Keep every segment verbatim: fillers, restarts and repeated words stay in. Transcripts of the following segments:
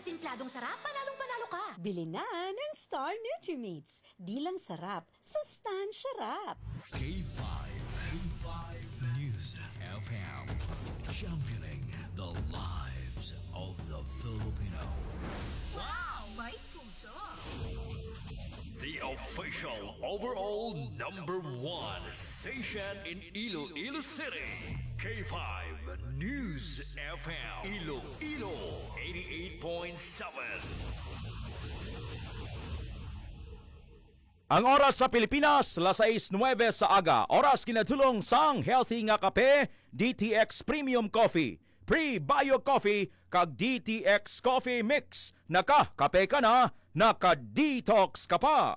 Timpladong sarap, panalong panalo ka! Bili na ng Star Nutrimates. Di lang sarap, sustansya rap! K five, K five News F M, championing the lives of the Filipino. Wow, may puso! The official overall number one station in Iloilo City, K five News F M, Iloilo, eighty-eight point seven. Ang oras sa Pilipinas, las sais nuebe sa aga. Oras kinatulong sang healthy nga kape, D T X Premium Coffee, Prebio Coffee, kag D T X Coffee Mix. Nakakape ka na, naka-detox ka pa.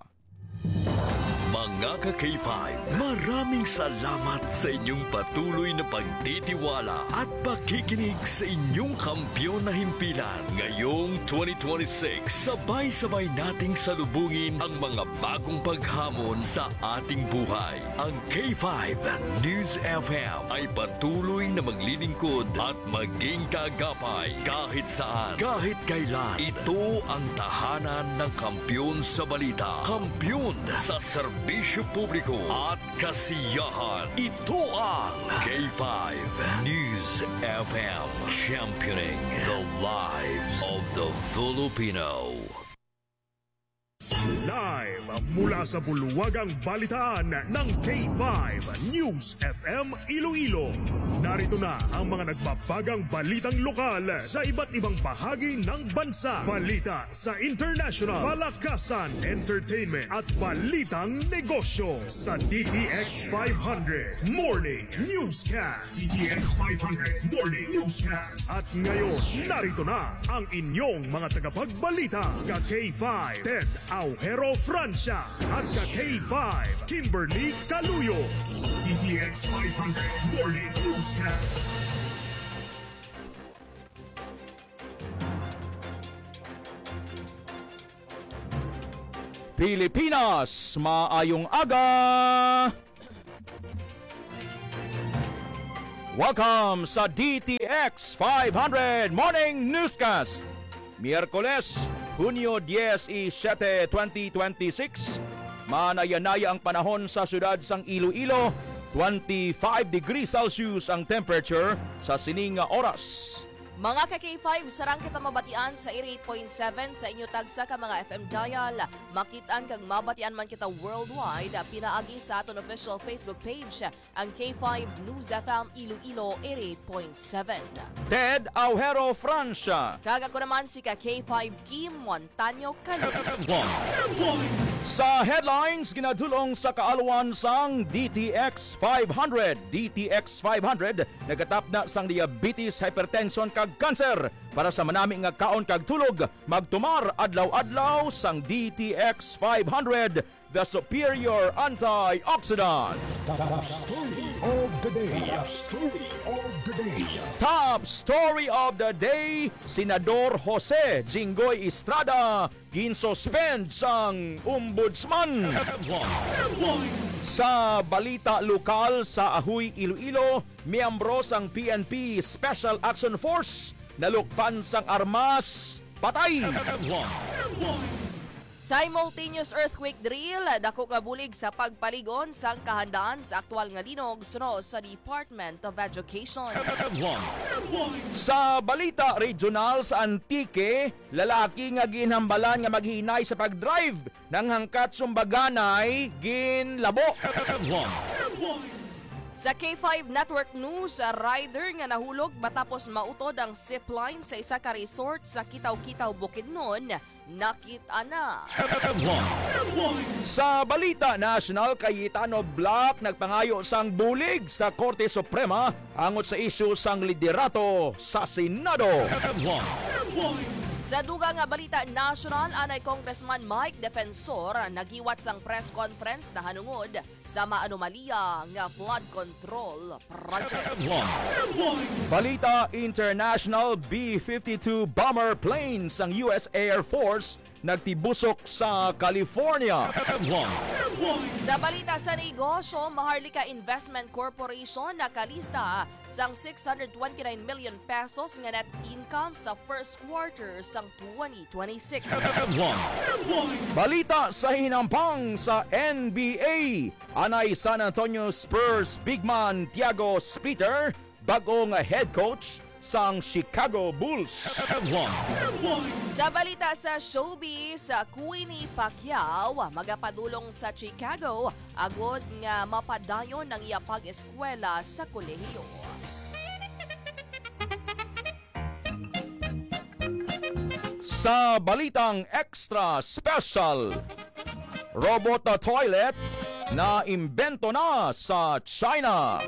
Mga ka-K five, maraming salamat sa inyong patuloy na pagtitiwala at pakikinig sa inyong kampiyon na himpilan. Ngayong twenty twenty-six, sabay-sabay nating salubungin ang mga bagong paghamon sa ating buhay. Ang K five News F M ay patuloy na maglilingkod at maging kaagapay kahit saan, kahit kailan. Ito ang tahanan ng kampiyon sa balita, kampiyon sa serbisyo publiko at kasiyahan. Ito ang K five News F M, championing the lives of the Filipino. Live mula sa bulwagang balitaan ng K five News F M Iloilo. Narito na ang mga nagbabagang balitang lokal sa iba't ibang bahagi ng bansa. Balita sa international, palakasan, entertainment, at balitang negosyo sa D T X five hundred Morning Newscast. D T X five hundred Morning Newscast. At ngayon, narito na ang inyong mga tagapagbalita, ka K five, Ted Aujero Francia, at ka K five, Kimberly Caluyo. D T X five hundred Morning Newscast. Pilipinas, maayong aga! Welcome sa D T X five hundred Morning Newscast. Miyerkules, Hunyo diecisiete, twenty twenty-six. Manaya-naya ang panahon sa siyudad sang Iloilo, twenty-five degrees Celsius ang temperature sa sini nga oras. Mga ka K five, sarang kita mabatian sa eighty-eight point seven sa inyo tagsa ka mga F M dial. Makit-an kag mabatian man kita worldwide, pinaagi sa aton official Facebook page, ang K five News F M Iloilo eighty-eight point seven. Ted Aujero Francia. Kag ako naman si ka K five Kim Montaño Calvo. Sa headlines, ginadulong sa kaalwan sang D T X five hundred. D T X five hundred nagatapna sang diabetes, hypertension, kag cancer. Para sa manami nga kaon kag tulog, magtumar adlaw-adlaw sang D T X five hundred, the superior antioxidant. Top story of the day. Top story of the day. Top story of the day, Senador Jose Jinggoy Estrada ginsuspend sang ombudsman. Sa balita lokal, sa Ajuy, Iloilo, miyembro sang P N P Special Action Force nalukpan sang armas, patay. Simultaneous earthquake drill, dako nga bulig sa pagpalig-on sang kahandaan sa aktual nga linog suno sa Department of Education. Sa balita regional, sa Antique, lalaki nga ginhambalan nga maghinay sa pag-drive nang hangkat sumbaganay ginlabo. Sa K five Network News, rider nga nahulog matapos mautod ang zipline sa isa ka resort sa Kitaw-Kitaw, Bukidnon, nakit-an na. Sa balita nasyonal, Cayetano Black nagpangayo sang bulig sa Korte Suprema angot sa isyu sang liderato sa Senado. Sa dugang nga balita nasyonal, anay Congressman Mike Defensor nagiwat sang press conference nahanungod sa maanomalya nga flood control project. Balita international, B fifty-two bomber plane sang U S Air Force nagtibusok sa California. Headline. Sa balita sa negosyo, Maharlika Investment Corporation nakalista sang six hundred twenty-nine million pesos nga net income sa first quarter sang twenty twenty-six. Headline. Balita sa hinampang sa N B A, anay San Antonio Spurs big man Tiago Splitter bag-ong head coach sang Chicago Bulls. Headline. Sa balita sa showbiz, Queenie Pacquiao magapadulong sa Chicago agod nga mapadayon ang iya pag-eskwela sa kolehiyo. Sa balitang extra special, robot na toilet na imbento na sa China.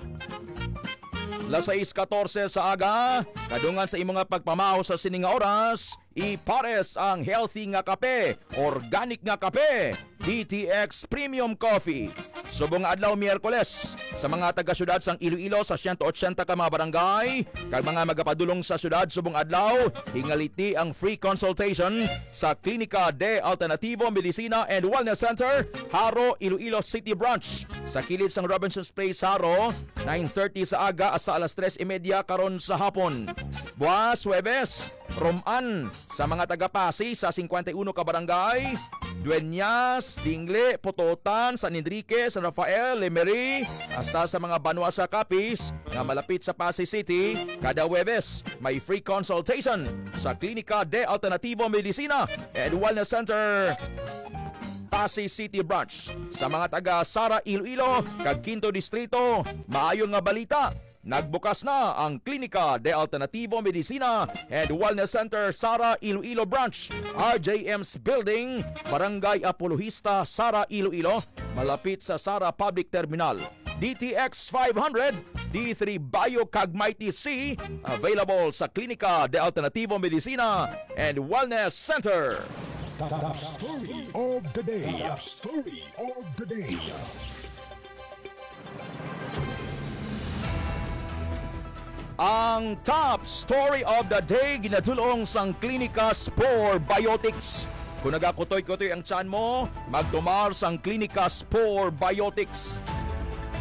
Las sais katorse sa aga, kadungan sa imo nga pagpamahaw sa sini nga oras, ipares ang healthy nga kape, organic nga kape, D T X Premium Coffee. Subong nga adlaw, Miyerkules, sa mga taga-syudad sang Iloilo sa siyento otsenta ka mga barangay kag mga magapadulong sa syudad subong adlaw, hingaliti ang free consultation sa Klinika de Alternativo Medicina and Wellness Center, Jaro, Iloilo City Branch, sa kilid sang Robinson's Place, Jaro, nine thirty sa aga hasta alas tres y media karon sa hapon. Buwas, Huwebes, Roman, sa mga taga-Passi sa singkwenta y uno ka barangay, Dueñas, Dingle, Pototan, San Enrique, San Rafael, Lemery, hasta sa mga banwa sa Capiz nga malapit sa Passi City, kada Huwebes may free consultation sa Klinika de Alternativo Medicina and Wellness Center, Passi City Branch. Sa mga taga Sara, Iloilo, kag Quinto Distrito, maayo nga balita. Nagbukas na ang Klinika de Alternativo Medicina and Wellness Center, Sara, Iloilo Branch, R J M's Building, Barangay Apologista, Sara, Iloilo, malapit sa Sara Public Terminal. D T X five hundred, D three Bio, kag Mighty C, available sa Klinika de Alternativo Medicina and Wellness Center. Top story of the day. Top story of the day. Ang top story of the day ginadul-ong sang Klinika Spore Biotics. Kung nagakutoy-kutoy ang tiyan mo, magtumar sang Klinika Spore Biotics.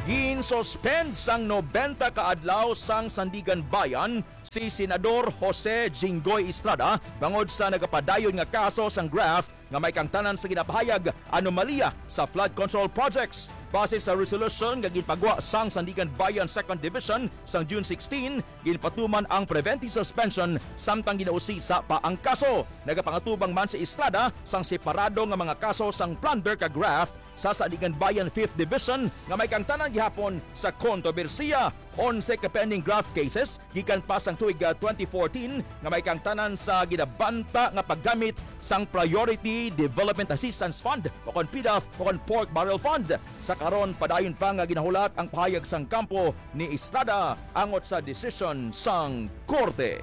Gin-suspend sang nobenta ka adlaw sang Sandiganbayan si Senador Jose Jinggoy Estrada bangod sa nagapadayon nga kaso sang graft nga may kaangtanan sa ginapahayag anomalya sa flood control projects. Base sa resolution nga ginpagwa sang Sandiganbayan Second Division sang June sixteen, ginpatuman ang preventive suspension samtang ginausisa pa ang kaso. Nagapangatubang man si Estrada sang separado nga mga kaso sang plunder kag graft sa Sandiganbayan Fifth Division nga may kaangtanan gihapon sa kontrobersiya. Onse ka pending graft cases gikan pa sang tuig, ah, twenty fourteen nga may kaangtanan sa ginabanta nga paggamit sang Priority Development Assistance Fund o kon PDAF o kon Pork Barrel Fund. Sa karon, padayon pa nga ginahulat ang pahayag sang kampo ni Estrada angot sa desisyon sang korte.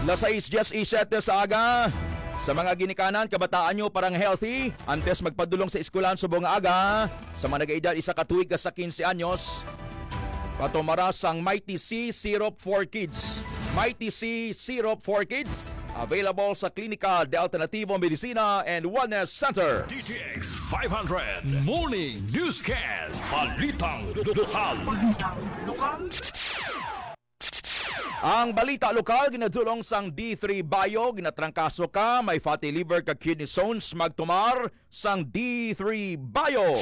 Las sais diecisiete sa aga. Sa mga ginikanan, kabataan nyo parang healthy. Antes magpadulong sa eskwelahan subong nga aga, sa mga nag-edad isa ka tuig hasta quince anyos, patumara sang Mighty C Syrup for Kids. Mighty C Syrup for Kids, available sa Klinika de Alternativo Medicina and Wellness Center. D T X five hundred Morning Newscast. Balitang lokal. Ang balita lokal ginadulong sang D three Bio. Ginatrangkaso ka, may fatty liver kag kidney stones, magtumar sang D three Bio.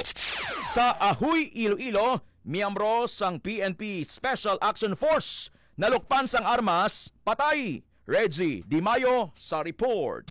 Sa Ahoy, Iloilo, miyembro sang P N P Special Action Force nalukpan sang armas, patay. Reggie Di Mayo sa report.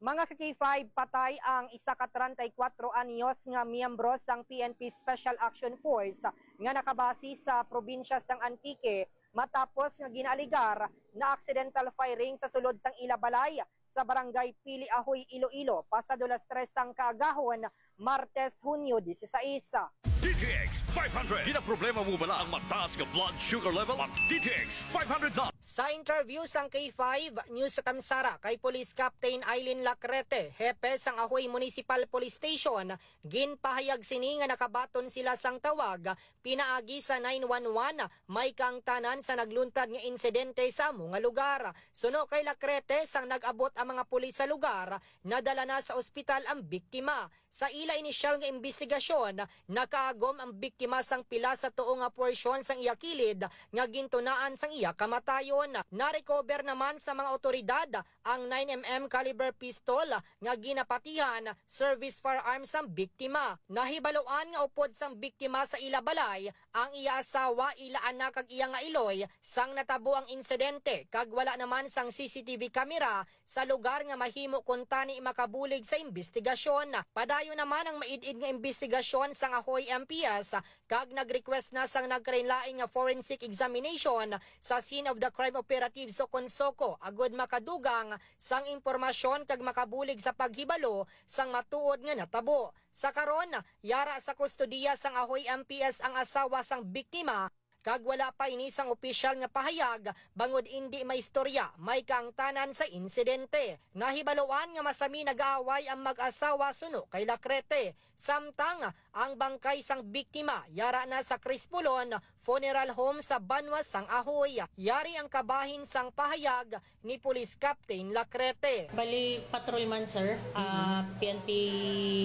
Mga ka-K five, patay ang isa ka treinta y cuatro anyos nga miyembro sang P N P Special Action Force nga nakabase sa probinsya sang Antique matapos nga ginaalegar na accidental firing sa sulod sang ila balay sa barangay Pili Ahoy, Iloilo, pasado las tres sang kaagahon, Martes, Hunyo disisais. D T X five hundred. Ginaproblema mo bala ang mataas nga blood sugar level? Mag T T X five hundred na. Sa interview sang K five News sa Kamsara kay Police Captain Eileen Lacrete, hepe sang Ahoy Municipal Police Station, ginpahayag sini nga nakabaton sila sang tawag pinaagi sa nine one one, may kaangtanan sa nagluntad nga insidente sa amo nga lugar. Suno kay Lacrete, sang nag-abot ang mga pulis sa lugar, nadala na sa ospital ang biktima. Sa ila inisyal nga imbestigasyon, nakaagom ang biktima sang pila sa tuo nga porsyon sang iya kilid nga gintunaan sang iya kamatayon. Narecover naman sa mga awtoridad ang nine M M caliber pistol nga ginapatihan, service firearm sang biktima. Nahibaloan nga upod sang biktima sa ila balay ang iya asawa, ila anak kag iya nga iloy sang natabo ang insidente, kag wala naman sang C C T V camera sa lugar nga mahimo kuntani makabulig sa imbestigasyon. Padayon naman ang maid-id nga imbestigasyon sang Ahoy M P S, kag nag-request na sang nagkalainlain nga forensic examination sa scene of the crime operatives o kon SOCO agud makadugang sang impormasyon kag makabulig sa paghibalo sang matuod nga natabo. Sa karon, yara sa kustodiya sang Ahoy M P S ang asawa sang biktima, kag wala pa ini sang opisyal nga pahayag bangod indi maistorya may kaangtanan sa insidente. Nahibaloan nga masami nag-aaway ang mag-asawa suno kay Lacrete, samtang ang bangkay sang biktima yara na sa Crispolon Funeral Home sa Banwa sang Ahoy. Yari ang kabahin sang pahayag ni Police Captain Lacrete. Bali, patrolman, sir. Ah, P N P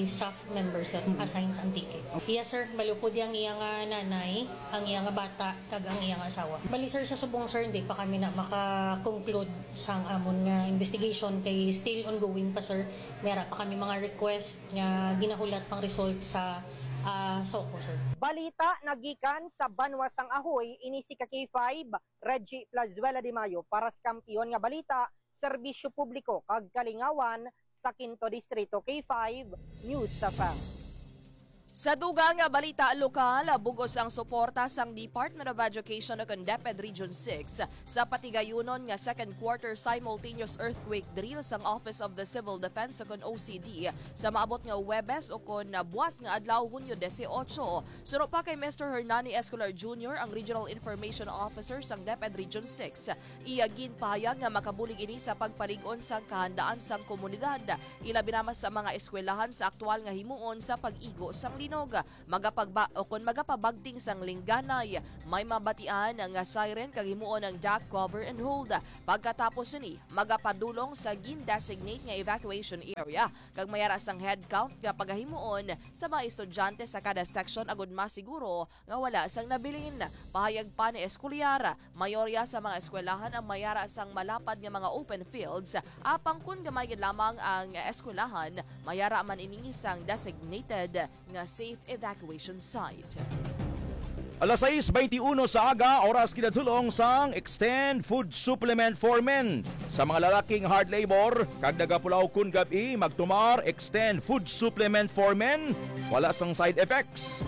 staff member, sir. Assigned sa Antique. Yes, sir. Bali, upod ang iya nga nanay, ang iya nga bata, kag ang iya nga asawa. Bali, sir, sa subong, sir, hindi pa kami na maka-conclude sang amon nga investigation kay still ongoing pa, sir. May ara pa kami mga request nga ginahulat pang result sa, ah, SOCO, sir. Balita nagikan sa Banwa sang Ahoy, ini si ka K five, Reggie Plazuela de Mayo para sa Kampiyon nga Balita, Serbisyo Publiko kag Kalingawan sa Quinto Distrito, K five News F M. Sa dugang nga balita lokal, bug-os ang suporta sang Department of Education ug ang DepEd Region six sa patigayunon nga second quarter simultaneous earthquake drill sang Office of the Civil Defense ug ang O C D sa maabot nga Huwebes ukon buas nga adlaw, Hunyo dieciocho. Suno pa kay Mister Hernani Escolar Junior, ang Regional Information Officer sang DepEd Region six, iya ginpahayag nga makabulig ini sa pagpalig-on sang kahandaan sang komunidad, ilabi na sa mga eskwelahan sa aktual nga himuon sa pag-igo sang linog. Magapagba-, o kon magapabagting sang lingganay, may mabatian nga siren kag himuon ang dac cover and hold. Pagkatapos sini, magapadulong sa gin-designate nga evacuation area kag may ara sang head count nga pagahimuon sa mga estudyante sa kada section agud masiguro nga wala sang nabilin. Pahayag pa ni Escolar, mayorya sa mga eskwelahan ang may ara sang malapad nga mga open fields, apang kon gamay gid lamang ang eskwelahan, may ara man ini sang designated nga safe evacuation site. Alas sais beintiuno sa aga, oras kinatulong sang Extend Food Supplement for Men. Sa mga lalaki nga hard labor kag nagapulaw kon gab-i, magtumar Extend Food Supplement for Men. Wala sang side effects.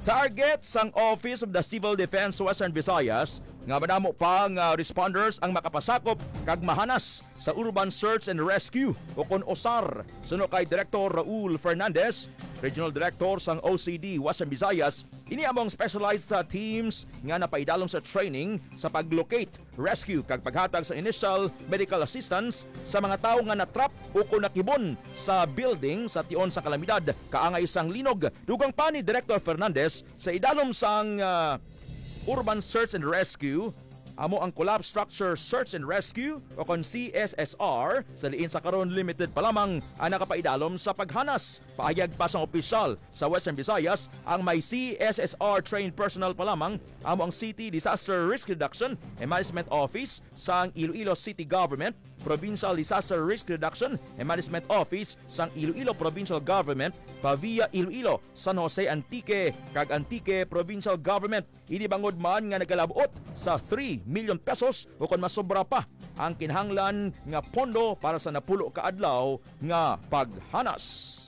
Target sang Office of the Civil Defense Western Visayas nga madamo pa nga responders ang makapasakop kag mahanas sa Urban Search and Rescue o kon OSAR. Suno kay Director Raul Fernandez, Regional Director sang O C D Western Visayas, ini amo ang specialized sa teams nga napaidalom sa training sa pag-locate, rescue kag paghatag sa initial medical assistance sa mga tawo nga natrap o kon nakibon sa building sa tion sa kalamidad kaangay sang linog. Dugang pa ni Director Fernandez, sa idalom sang, ah, Urban Search and Rescue, amo ang Collapse Structure Search and Rescue o kon C S S R, sa diin sa karon limited pa lamang ang nakapaidalom sa paghanas. Pahayag pa sang opisyal sa Western Visayas, ang may C S S R trained personnel pa lamang amo ang City Disaster Risk Reduction and Management Office sang Iloilo City Government, Provincial Disaster Risk Reduction and Management Office sang Iloilo Provincial Government, Pavia Iloilo, San Jose Antique, kag Antique Provincial Government. Ini bangod man nga nagalab-ot sa three million pesos o kon masobra pa ang kinahanglan nga pondo para sa napulo ka adlaw nga paghanas.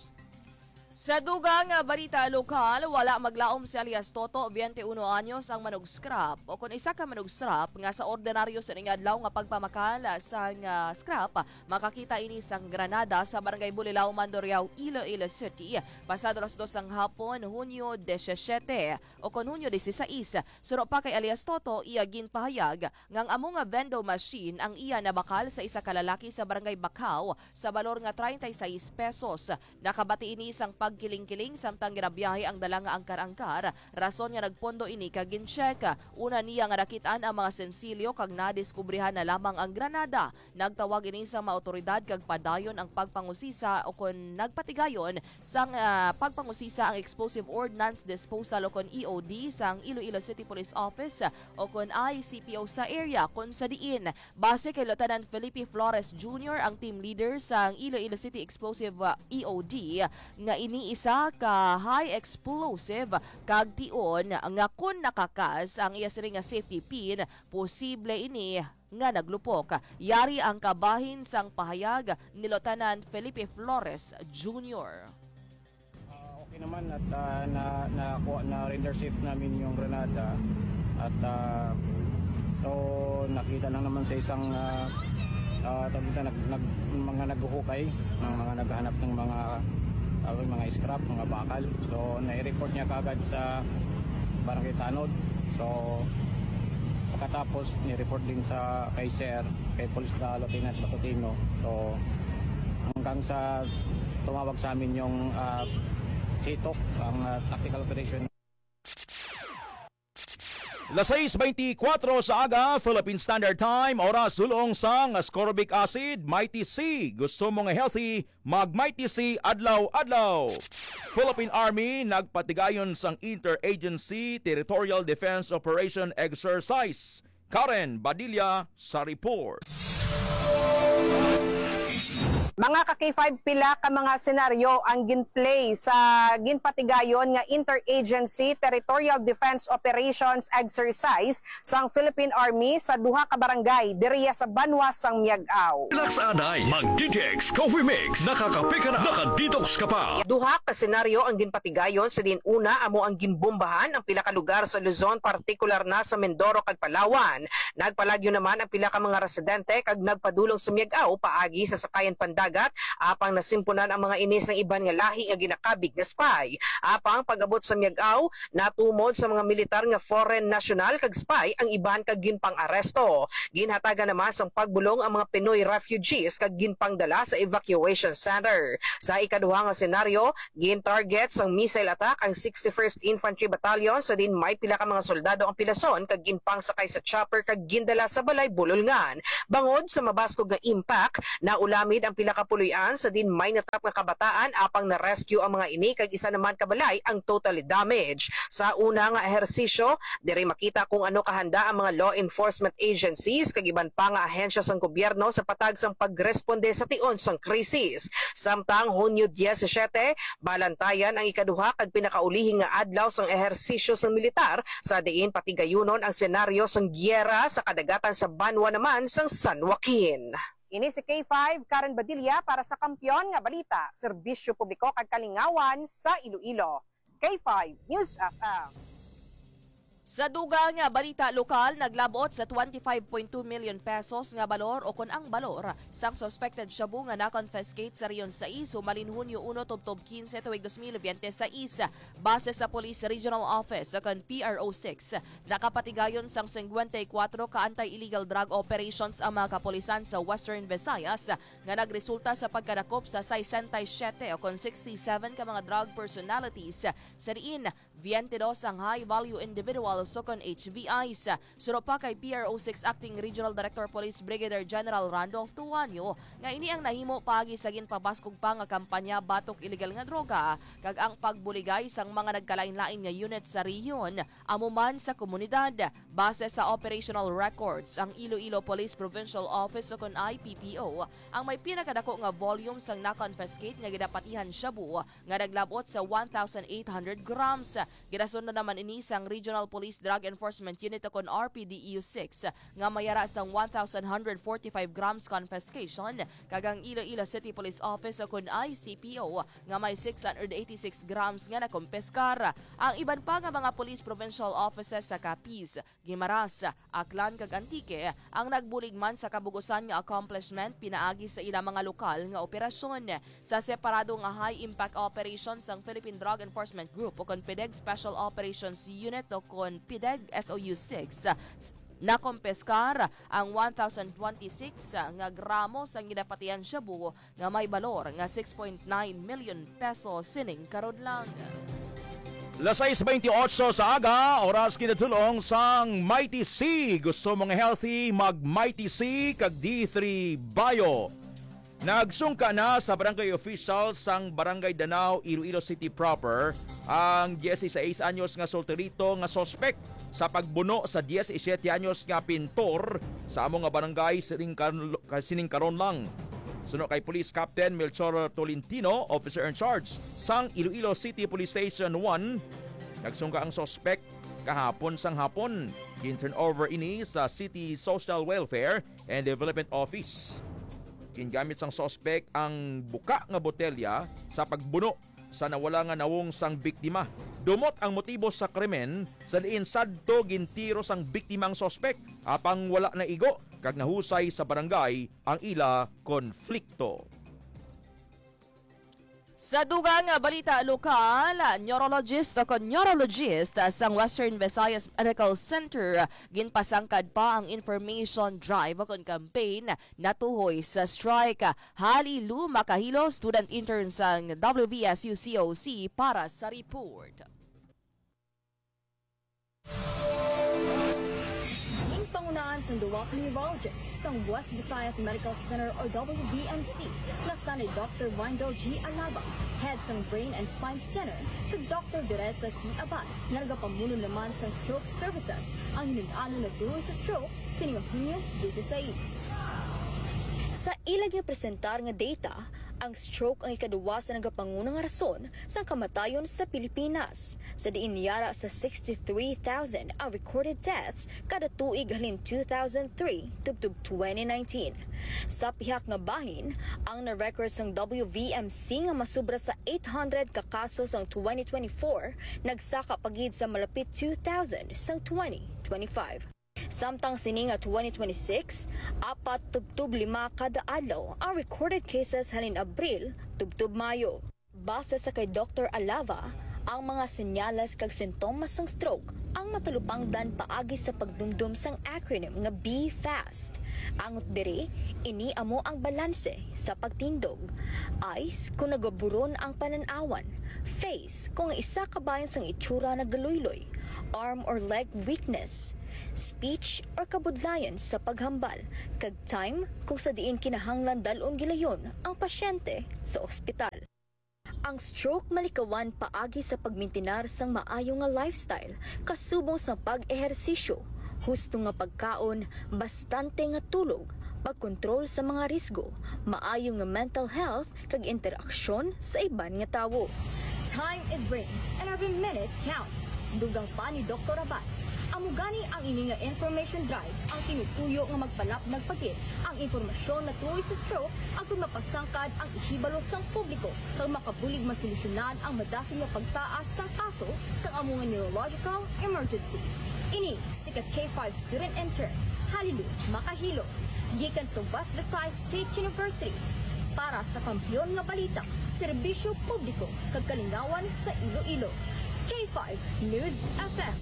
Sa dugang nga balita lokal, wala maglaom si alias Toto, twenty-one anyos, ang manug-scrap o kon isa ka manug-scrap nga sa ordinaryo sa ning adlaw nga pagpamakal sang, ah, scrap. Makakita ini sang Granada sa Barangay Bulilao, Mandurriao, Iloilo City, pasado alas dos sang hapon, Hunyo disisiete o kon Hunyo dieciséis. Suno pa kay alias Toto, iya ginpahayag nga ang amo nga vending machine ang iya nabakal sa isa ka lalaki sa Barangay Bacao sa balor nga treinta y seis pesos. Nakabati ini sang pagkiling-kiling samtang ginabiyahe ang dala nga angkar-angkar, rason nga nagpondo ini kag gincheck. Una niya nga nakit-an ang mga sensilyo kag nadiskubrihan na lamang ang granada. Nagtawag ini sa mga awtoridad kag padayon ang pagpangusisa o kon nagpatigayon sang, ah, pagpangusisa ang Explosive Ordnance Disposal o kon E O D sang Iloilo City Police Office o kon I C P O sa area, kon sa diin, base kay Lieutenant Felipe Flores Junior, ang team leader sang Iloilo City Explosive, ah, E O D, nga ini isa ka high explosive kag tion nga kon nakakas ang iya sini nga safety pin, posible ini nga naglupok. Yari ang kabahin sang pahayag ni Lieutenant Felipe Flores Junior. Ah, okay naman at, ah, na, nakuha, na-render safe namin yung granada at, ah, so nakita lang naman sa isang, ah, ah, tawag dito, nag, nag, mga naghuhukay, ng mga naghahanap ng mga, ah, mga scrap, mga bakal. So nai-report niya kagad sa Barangay Tanod. So pagkatapos ni-report din sa kay Sir, kay Police, ah, Lieutenant Matutino. So hanggang sa tumawag sa amin yung, ah, SEATOC, ang, ah, tactical operation. Las sais beintikwatro sa aga, Philippine Standard Time, oras dulong sang ascorbic acid, Mighty C. Gusto mo nga healthy? Mag Mighty C adlaw-adlaw. Philippine Army nagpatigayon sang Interagency Territorial Defense Operation Exercise. Karen Badilla sa report. Mga ka K five, pila ka mga senaryo ang ginplay sa ginpatigayon nga Interagency Territorial Defense Operations Exercise sang Philippine Army sa duha ka barangay diriya sa banwa sang Miag-ao. Relax anay, mag D T X Coffee Mix, nakakape ka na, naka-detox ka pa. Duha ka senaryo ang ginpatigayon, sa diin una amo ang ginbombahan ang pila ka lugar sa Luzon, partikular na sa Mindoro kag Palawan. Nagpalagyo naman ang pila ka mga residente kag nagpadulong sa Miag-ao paagi sa sakayan pandagat, apang nasimpunan ang mga ini sang iban nga lahi nga ginakabig nga spy. Apang pag-abot sa Miag-ao, natumod sa mga militar nga foreign national kag spy ang iban kag ginpang-aresto. Ginhatagan naman sang pagbulong ang mga Pinoy refugees kag ginpangdala sa evacuation center. Sa ikaduha nga senaryo, gin-target sang missile attack ang sixty-first Infantry Battalion, sa diin may pila ka mga soldado ang pilason kag ginpangsakay sa chopper kag gindala sa balay bulolngan. Bangod sa mabaskog nga impact, naulamid ang pila ka puloy-an, sa diin may natap nga kabataan, apang na-rescue ang mga ini kag isa naman ka balay ang totally damaged. Sa una nga ehersisyo, diri makita kung ano kahanda ang mga law enforcement agencies kag iban pa nga ahensya sang gobyerno sa patag sang pagresponde sa tion sang krisis. Samtang Hunyo diecisiete, balantayan ang ikaduha kag pinakaulihi nga adlaw sang ehersisyo sang militar, sa diin patigayunon ang senaryo sang giyera sa kadagatan sa banwa naman sang San Joaquin. Ini si K five, Karen Badilla para sa Kampiyon nga Balita, Serbisyo Publiko kag Kalingawan sa Iloilo. K five News F M. Sa dugang nga balita lokal, naglabot sa twenty-five point two million pesos nga balor o kon ang balor sang suspected shabu nga na-confiscate sa Region sais humalin Hunyo uno tubtob quince tuig dos mil biyente sais. Base sa Police Regional Office o kon P R O six, nakapatigayon sang singkwenta y kuwatro ka anti-illegal drug operations ang mga kapulisan sa Western Visayas nga nagresulta sa pagkadakop sa sesenta y siyete o kon sixty-seven ka mga drug personalities, sa diin biyente dos ang high-value individuals o kon H V Is. Suno pa kay P R O six Acting Regional Director Police Brigadier General Randolph Tuanyo nga ini ang nahimo paagi sa ginpabaskog pa nga kampanya batok iligal nga droga kag ang pagbuligay sang mga nagkalain-lain nga unit sa rehiyon, amo man sa komunidad. Base sa operational records, ang Iloilo Police Provincial Office o kon I P P O ang may pinakadako nga volume sang na-confiscate nga ginapatihan shabu nga naglabot sa one thousand eight hundred grams. Ginasunod naman ini sang Regional Police Police Drug Enforcement Unit o kon R P D E U six nga may ara sang one thousand one hundred forty-five grams confiscation, kag ang Iloilo City Police Office o kon I C P O nga may six hundred eighty-six grams nga nakumpiskar. Ang iban pa nga mga police provincial offices sa Capiz, Guimaras, Aklan kag Antique ang nagbulig man sa kabug-usan nga accomplishment pinaagi sa ila mga lokal nga operasyon. Sa separado nga high-impact operation sang Philippine Drug Enforcement Group o kon PDEG Special Operations Unit o kon PDEG S O U six, s-, nakompiskar ang one thousand twenty-six nga gramo sang ginapatihan shabu nga may balor nga six point nine million pesos sining karon lang. Las sais bentiocho sa aga, oras kinatulong sang Mighty C. Gusto mo nga healthy? Mag Mighty C kag D three Bio. Nagsungka na sa barangay official sang Barangay Danao, Iloilo City proper, ang dieciséis anyos nga solterito nga suspek sa pagbuno sa diecisiete anyos nga pintor sa amo nga barangay sining kan-, sining karon lang. Suno kay Police Captain Melchor Tolentino, officer in charge sang Iloilo City Police Station one, nagsungka ang suspek kahapon sang hapon. Gin-turn over ini sa City Social Welfare and Development Office. Gingamit sang suspek ang buka nga botelya sa pagbuno sa nawala nga nawong sang biktima. Dumot ang motibo sa krimen, sa diin sadto gintiro sang biktima ang suspek, apang wala naigo kag nahusay sa barangay ang ila konflikto. Sa dugang nga balita lokal, neurologist o kon neurologist sang Western Visayas Medical Center ginpasangkad pa ang information drive o kon campaign natuhoy sa strike. Halilu Makahilo, student intern sang W V S U C O C para sa report. Ginpangunahan sang duwa ka neurologist sang West Visayas Medical Center o W V M C, nga sanay Doctor Wendell G Alava, head sang Brain and Spine Center, kag Doctor Teresa C Abad, nga nagapamuno naman sang stroke services, ang hinun-anon natuhoy sa stroke sining Hunyo dieciséis. Sa ila ginpresentar nga data, ang stroke ang ikaduwa sa nagapanguna nga rason sang kamatayon sa Pilipinas, sa diin yara sa sixty-three thousand ang recorded deaths kada tuig halin two thousand three tubtob twenty nineteen. Sa pihak nga bahin, ang na-record sang W V M C nga masubra sa eight hundred ka kaso sang twenty twenty-four nagsaka pa gid sa malapit two thousand sang twenty twenty-five. Samtang sini nga twenty twenty-six, apat tubtob lima kada adlaw ang recorded cases halin Abril tubtob Mayo. Base sa kay Doctor Alava, ang mga senyales kag sintomas sang stroke ang matalupangdan paagi sa pagdumdom sang acronym nga B FAST. Angot diri, ini amo ang balanse sa pagtindog. Eyes, kung nagaburon ang panan-awan. Face, kung ang isa ka bahin sang itsura nagaluyloy. Arm or leg weakness. Speech or kabudlayan sa paghambal. Kag time, kung sa diin kinahanglan dal-on gilayon ang pasyente sa ospital. Ang stroke malikawan paagi sa pagmintinar sang maayo nga lifestyle, kasubong sang pag-ehersisyo, husto nga pagkaon, bastante nga tulog, pagkontrol sa mga risgo, maayo nga mental health, kag interaksyon sa iban nga tawo. Time is brain, and every minute counts. Dugang pa ni Doktor Abad, amo gani ang ini nga information drive ang tinutuyo nga magpalapnag pa gid ang impormasyon natuhoy sa stroke agud mapasangkad ang ihibalo sang publiko kag makabulig masolusyonan ang madasin nga pagtaas sang kaso sang amo nga neurological emergency. Ini si ka K five student intern, Halilu Makahilo, gikan sa West Visayas State University. Para sa Kampiyon nga Balita, Serbisyo Publiko kag Kalingawan sa Iloilo, K five News F M.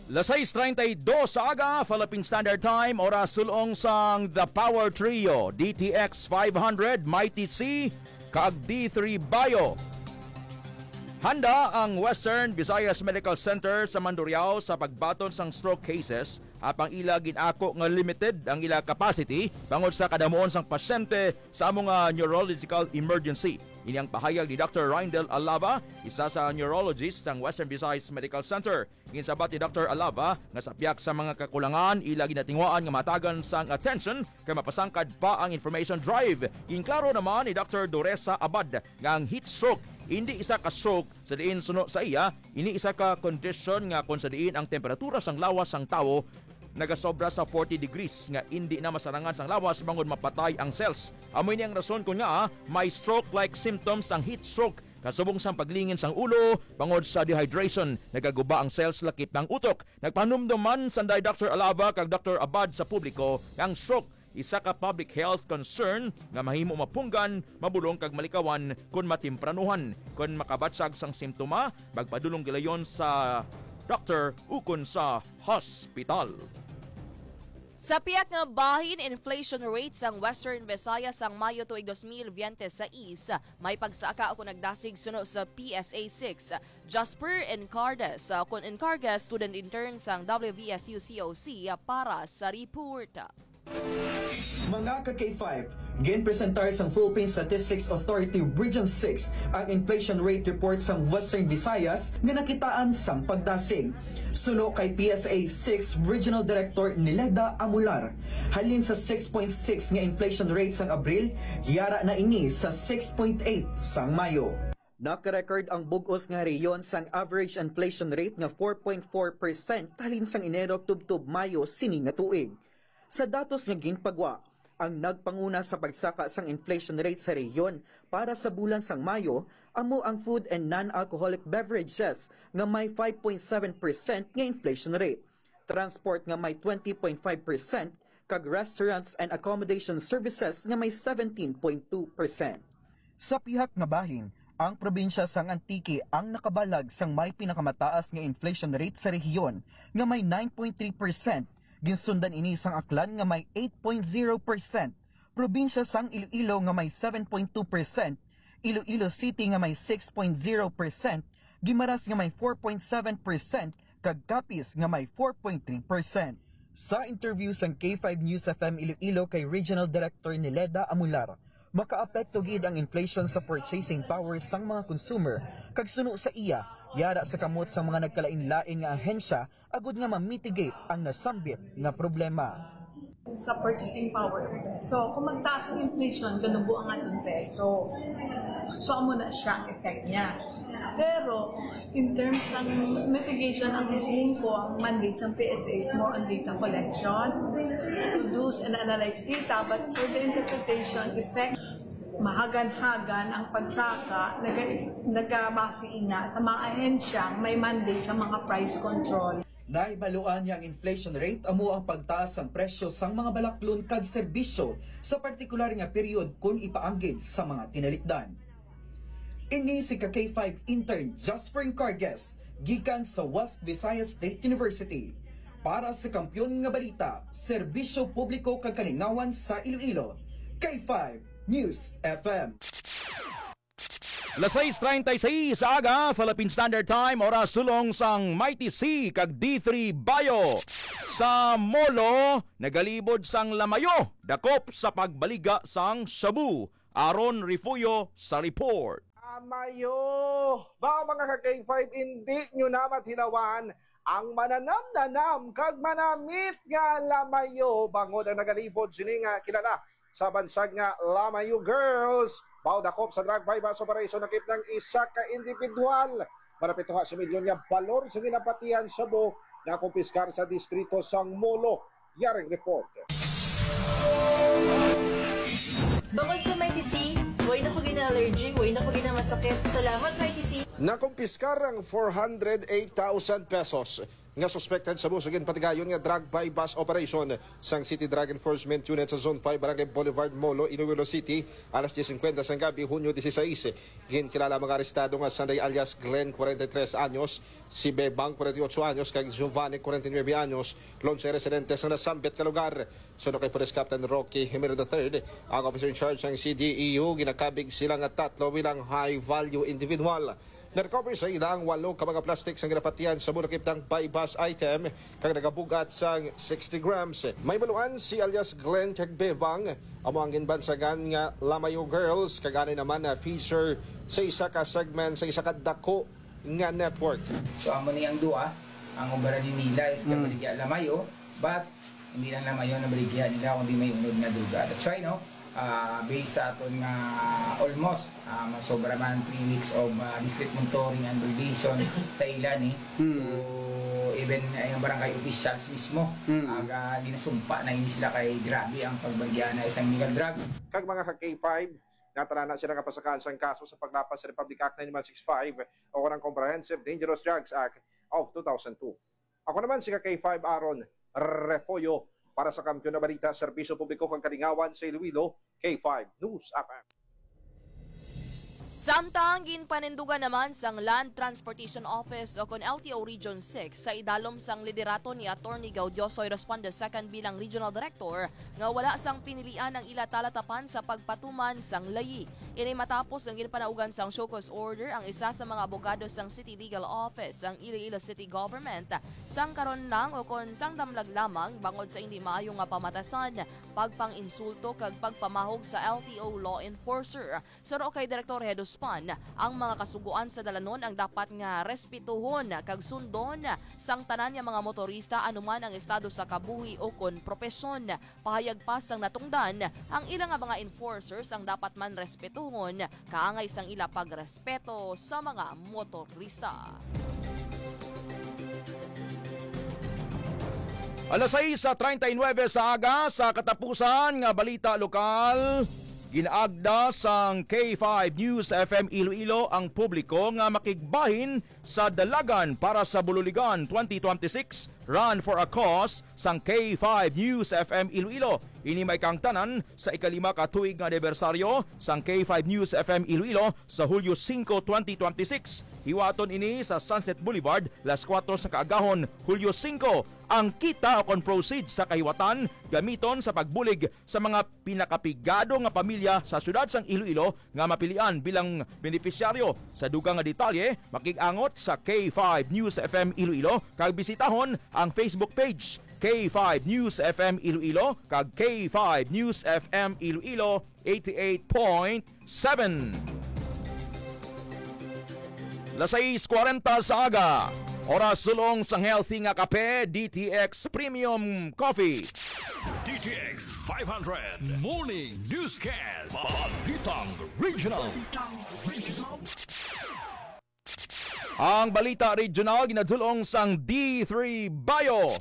Las sais treinta y dos sa aga, Philippine Standard Time, oras sulong sang The Power Trio, D T X five hundred, Mighty C, kag D three Bio. Handa ang Western Visayas Medical Center sa Mandurriao sa pagbaton sang stroke cases, apang ila gin-ako nga limited ang ila capacity bangod sa kadamuon sang pasyente sa amo nga neurological emergency. Ini ang pahayag ni Doctor Rindel Alaba, isa sa neurologist sang Western Visayas Medical Center. Ginsabat ni Doctor Alaba nga sa pihak sa mga kakulangan, ila ginatinguhaan nga matagan sang attention kay mapasangkad pa ang information drive. Ginklaro naman ni Doctor Doresa Abad nga ang heat stroke indi isa ka stroke, sa diin suno sa iya, ini isa ka kondisyon nga kon sa diin ang temperatura sang lawas sang tawo nagasobra sa forty degrees nga indi na masarangan sang lawas bangod mapatay ang cells. Amo ini ang rason kon ngaa may stroke-like symptoms ang heat stroke, kasubong sang paglingin sang ulo bangod sa dehydration, nagaguba ang cells lakip ng utok. Nagpahanumdom man sanday Doctor Alaba kag Doctor Abad sa publiko nga ang stroke isa ka public health concern nga mahimo mapunggan, mabulong kag malikawan kon matempranuhan. Kon makabatyag sang simptoma, magpadulong gilayon sa doktor ukon sa hospital. Sa pihak nga bahin, inflation rate sang Western Visayas sang Mayo tuig dos mil biyente sais may pagsaka o kon nagdasig suno sa P S A six. Jasper Encardes, uh, kon Encardes, student intern sang W V S U C O C, uh, para sa report. Mga ka K five, ginpresentar sang Philippine Statistics Authority Region six ang inflation rate report sang Western Visayas nga nakitaan sang pagdasig. Suno kay P S A six Regional Director Nileda Amular, halin sa six point six nga inflation rate sang Abril, yara na ini sa six point eight sang Mayo. Naka-record ang bug-os nga rehiyon sang average inflation rate nga four point four percent halin sang Enero tubtob Mayo sini nga tuig. Sa datos nga ginpagwa, ang nagpanguna sa pagsaka sang inflation rate sa rehiyon para sa bulan sang Mayo amo ang food and non-alcoholic beverages nga may five point seven percent nga inflation rate, transport nga may twenty point five percent, kag restaurants and accommodation services nga may seventeen point two percent. Sa pihak nga bahin, ang probinsya sang Antique ang nakabalag sang may pinakamataas nga inflation rate sa rehiyon nga may nine point three percent. Ginsundan ini sang Aklan nga may eight point zero percent, probinsya sang Iloilo nga may seven point two percent, Iloilo City nga may six point zero percent, Guimaras nga may four point seven percent, kag Capiz nga may four point three percent. Sa interview sang K five News F M Iloilo kay Regional Director Nileda Amular, makaapekto gid ang inflation sa purchasing power sang mga consumer, kag suno sa iya, yara sa kamot sang mga nagkalainlain nga ahensya agud nga ma-mitigate ang nasambit nga problema. Sa purchasing power. So, kung magtaas ang inflation, ganubo ang aton peso. So, amo na siya ang effect niya. Pero, in terms ng mitigation, ang hisiling ko, ang mandate sa P S A is more on data collection, produce and analyze data, but for the interpretation effect, mahagan-hagan ang pagsaka, naga-, nagabase ina sa mga ahensyang may mandate sa mga price control. Nahibaluan nga ang inflation rate amo ang pagtaas sang presyo sang mga balaklon kag serbisyo sa partikular nga period kon ipaanggid sa mga tinalikdan. Ini si ka K five intern Jasper Encarguez gikan sa West Visayas State University. Para sa Kampiyon nga Balita, Serbisyo Publiko kag Kalingawan sa Iloilo, K five News F M. Las sais treinta y seis sa aga, Philippine Standard Time, oras sulong sang Mighty C kag D three Bio. Sa Molo, nagalibod sang lamayo, dakop sa pagbaliga sang shabu. Aaron Refugio sa report. Lamayo! Ba, mga ka K five, hindi nyo na mathilawan ang mananam-nanam kag manamit nga lamayo, bangod ang nagalibod sini nga kilala sa bansag nga Lamayo Girls. Baw dakop sa drug buy-bust operation, nakit ng isa ka individual. Malapit ha sa milyon nga balor sa ginapatihan shabu nga kumpiskar sa distrito sang Molo. Yaring report. Bangod sa Mighty C, way na ko gina-allergy, way na ko ginamasakit. Salamat, Mighty C. Nakumpiskar ang four hundred eight thousand pesos nga suspected shabu sa ginpatigayon nga drug buy-bust operation sang City Drug Enforcement Unit sa Zone five, Barangay Boulevard, Molo, Iloilo City, alas diez cincuenta sang gabi, Hunyo dieciséis. Ginkilala ang mga arestado nga sanday alias Glenn, forty-three anyos, si Bebang, forty-eight anyos, kag Giovanni, forty-nine anyos, lonse residente sa nasambit nga lugar. Suno kay Police Captain Rocky Jimenez the third, ang officer in charge sang C D E U, ginakabig sila nga tatlo bilang high-value individual. Na-recover sa ila ang walo ka mga plastic sang ginapatihan shabu nakit ng buy-bust item kag nagabugat sang sixty grams. May baluan si alias Glenn kag Bevang, amo ang ginbansagan nga Lamayo Girls, kag anay naman na feature sa isa ka segment sa isa ka dako nga network. So, amo ni ang duwa, ang obra ni nila is Mm. kabaligya Lamayo, but hindi lang Lamayo na baligya nila, kundi may unod nga droga. That's why, no, ah, based sa aton nga almost, ah, masobra man three weeks of, ah, discreet monitoring and validation sa ila ni. Hmm. So, even ang barangay officials mismo, Hmm. aga, ginasumpa na ini sila kay grabe ang pagbaligya na isang illegal drugs. Kag mga ka K five, natalana sila nga pasakaan sang kaso sa paglapas sa Republic Act nine one six five o kanang Comprehensive Dangerous Drugs Act of two thousand two. Ako naman si ka K five Aaron Refollo para sa Kampiyon na Balita, Serbisyo Publiko kag Kalingawan sa Iloilo, K five News F M. Samtang ginpanindugan naman sang Land Transportation Office o kon L T O Region six sa idalom sang liderato ni Attorney Gaudioso Responde second bilang Regional Director nga wala sang pinilian ang ila talatapan sa pagpatuman sang layi. Ini matapos ang ginpanaugan sang show cause order ang isa sa mga abogado sang City Legal Office sang Iloilo City Government sang karon lang o kon sang damlag lamang bangod sa hindi maayo nga pamatasan, pagpang-insulto kag pagpamahog sa L T O law enforcer. Suno kay Direktor Heduspan, ang mga kasugoan sa dalanon ang dapat nga respetuhon kag sundon sang tanan nga mga motorista anuman ang estado sa kabuhi o kon propesyon. Pahayag pa sang natungdan, ang ila nga mga enforcers ang dapat man respetuhon kaangay sang ila pagrespeto sa mga motorista. Alas sais treinta y nueve sa aga, sa katapusan nga balita lokal, ginaagda sang K five News F M Iloilo ang publiko nga makigbahin sa Dalagan para sa Bululigan twenty twenty-six Run for a Cause sang K five News F M Iloilo. Ini may kaangtanan sa ikalima ka tuig nga anibersaryo sang K five News F M Iloilo sa Hulyo singko, twenty twenty-six. Hiwaton ini sa Sunset Boulevard, las kuwatro sa kaagahon, Hulyo singko. Ang kita o kon proceeds sa kahiwatan gamiton sa pagbulig sa mga pinakapigado nga pamilya sa siyudad sang Iloilo nga mapilian bilang benepisyaryo. Sa dugang nga detalye, makig-angot sa K five News F M Iloilo kag bisitahon ang Facebook page K five News F M Iloilo kag K five News F M Iloilo eighty-eight point seven. Las sais kwarenta sa aga. Oras sulong sang healthy nga kape, D T X Premium Coffee. D T X five hundred Morning Newscast. Balitang Regional. Ang balita regional ginadulong sang D three Bio.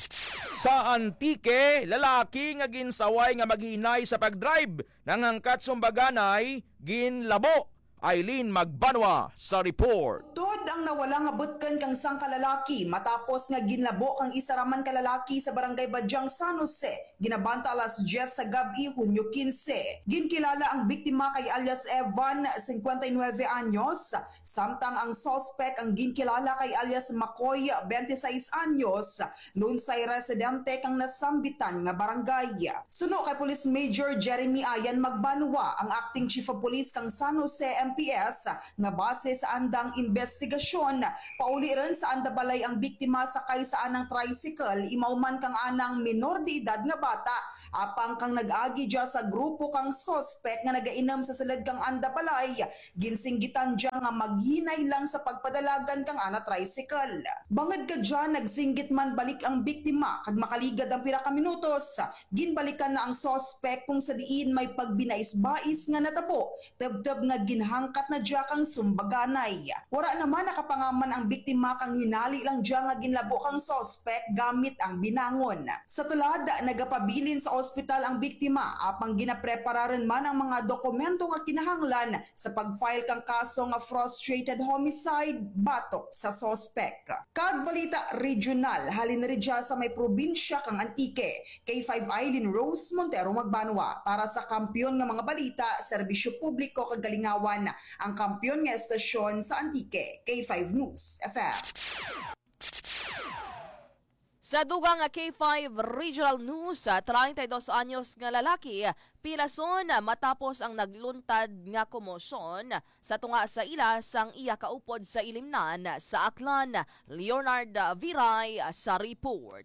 Sa Antique, lalaki nga ginsaway nga maghinay sa pagdrive nangangkat sumbaganay ginlabo. Eileen Magbanwa sa report. Tuod ang nawala nga butken kang sangka lalaki matapos nga ginlabo kang isa ra man ka lalaki sa Barangay Badyang, San Jose. Ginabanta alas diyes sa gab-i, Hunyo kinse. Ginkilala ang biktima kay alias Evan, singkwenta y nuwebe anyos, samtang ang suspek ang ginkilala kay alias Makoy, bente sais anyos, lunsay residente kang nasambitan nga barangay. Suno kay Police Major Jeremy Ayan Magbanwa, ang Acting Chief of Police kang San Jose M P S, nga base sa andang imbestigasyon, pauli run sa anda balay ang biktima sakay sa anang tricycle, imaw man kang anang minor de edad nga bata, apang kang nag-agi dya sa grupo kang suspek nga nagainom sa sulod kang anda balay, ginsinggitan dya nga maghinay lang sa pagpadalagan kang ana tricycle. Bangod ka dya, nagsinggit man balik ang biktima, kag makaligad ang pira ka minutos, ginbalikan na ang suspek, kung sa diin may pagbinais-bais nga natabo, tubtob nga ginhangkat na dya kang sumbaganay. Wara naman nakapangaman ang biktima kang hinali lang dya nga ginlabo kang suspek gamit ang binangon. Sa tulad, nagapabilin sa ospital ang biktima, apang ginaprepara run man ang mga dokumento nga kinahanglan sa pag-file kang kaso nga frustrated homicide batok sa suspek. Kag balita regional, halin ridya sa may probinsya kang Antique, K five Eileen Rose Montero Magbanwa para sa Kampiyon nga mga Balita, Serbisyo Publiko kag Kalingawan, ang kampiyon nga estasyon sa Antique, K five News F M. Sa dugang nga K five Regional News, ah, treinta y dos anyos nga lalaki pilason matapos ang nagluntad nga komosyon sa tunga sa ila sang iya kaupod sa Ilimnan sa Aklan. Leonard Viray sa report.